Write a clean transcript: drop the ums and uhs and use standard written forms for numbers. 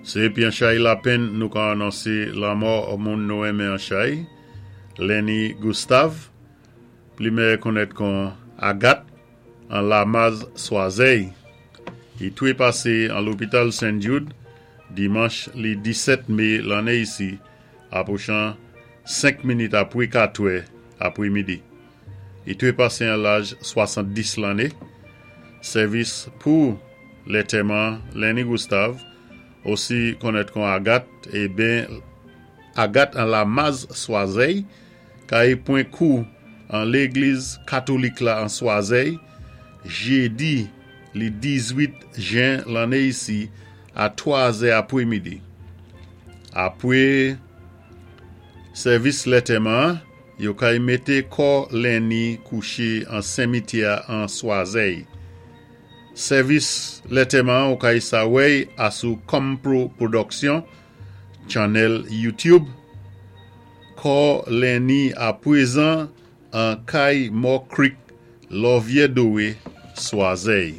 Sé épi an chay lapenn nou ka anonsé lanmò moun nou renmen an chay, Lenny Gustave, pli mèyè konnèt kon Agat, an Lamaz Swazèy. I twépasé an lopital Sen Jude dimanch li 17 mé lanné isi apwochan 5 minit apwé 4 è apwémidi. I twépasé an laj 70 lanné. Sèvis pou lètèman Lenny Gustave, osi konnèt kon Agat, é ben Agat an Lamaz Swazèy, kay pwan kou an légliz katolik la an Swazèy, jédi li 18 jen lanné isi a 3 zè apwémidi. Apwé sèvis lètèman an, yo kay mété kò Lenny kouché an senmityè an Swazèy. Sèvis lètèman an ou kay sa wèy asou Compro Production channel YouTube. Kò Lenny apwézan an kay Mò Creek Lòvyè Dowé, Swazèy.